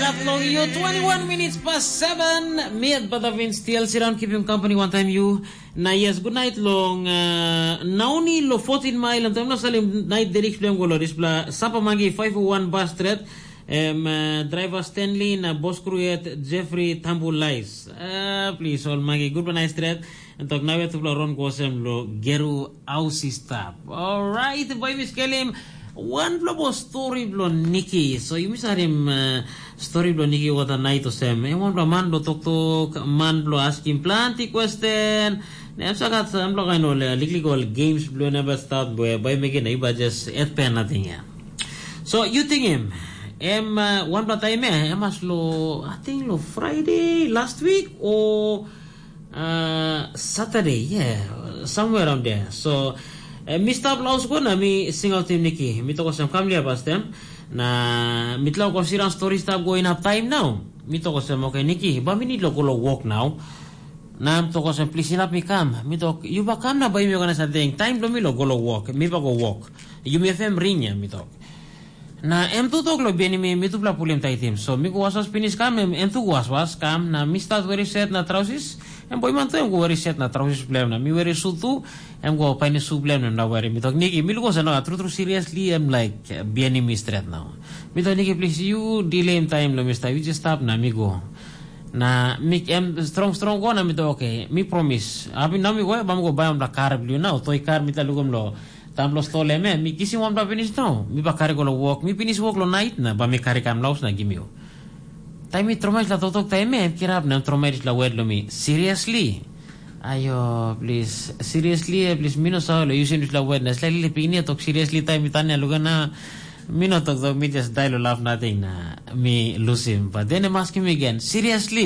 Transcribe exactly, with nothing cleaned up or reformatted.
Long you twenty-one minutes past seven. Mi at Badavin still sit down keeping company one time you. Na yes, good night long uh, Nauni lo fourteen mile and time lo salim night derich blem golo displa sapa mangi five oh one bus stret. Em uh, driver Stanley na boss crew at Jeffrey Tambulais. Uh, please all mangi good night stret. And talk now to ron gosem lo geru ausi stap. All right, boy Miss Kelim. Wanpela bo stori bilong Niki. So yumi sarim uh, stori bilong Niki wata nait osem. Em wanpela man bilong toktok, man bilong askim planti question. Na em sagat sampela kain ol uh, liklik ol games bilong neba start boy boy mekin na iba just et pen nating ya. So you think him? Em uh, wanpela time eh, em as lo, I think lo Friday last week or uh, Saturday, yeah, somewhere around there. So uh, mi stap laus go na mi sing out tim Niki. Mi toko sem kam lia pastem. Na mitla ko siran story stap going up time now. Mi toko sem okay Niki, ba mi need lo go lo work now. Na mi toko sem please inap mi kam. Mi tok you ba kam na ba mi organize something. Time lo mi lo go lo work. Mi ba go work. You mi fem ring ya mi tok. Na em tu tok lo bini mi mitupela pulim taitim. So mi go waswas pinis kam em em tu waswas kam na mi start weri set na trausis. Em boiman tu em go weri set na trausis bilem na mi weri su tu. Em go paini su bilem na weri mi tok Niki mi luko sana tru tru seriously em like bini mi stret now. Mi tok Niki please you delay em time lo mi start you just stop na mi go. Na mi em strong strong go na mi tok okay mi promise. Abi na mi go ba mi go bai am la kar bilio na toi kar mi ta lukum lo. Tamplo stolem em, mi kisim wanpela pinis nau. Mi ba kari go long wok, mi pinis wok long nait na ba mi kari kam laus na gim yu. Taim mi tromoi la toktok taim em kirap na tromoi la wet long mi. Seriously? Ayo, plis. Seriously, eh, plis mi no save long yusim dispela wet na slightly pikinini tok seriously taim mi tania luga na mi no toktok mi just dai lo laf nating na mi lusim. But then em askim mi again, seriously?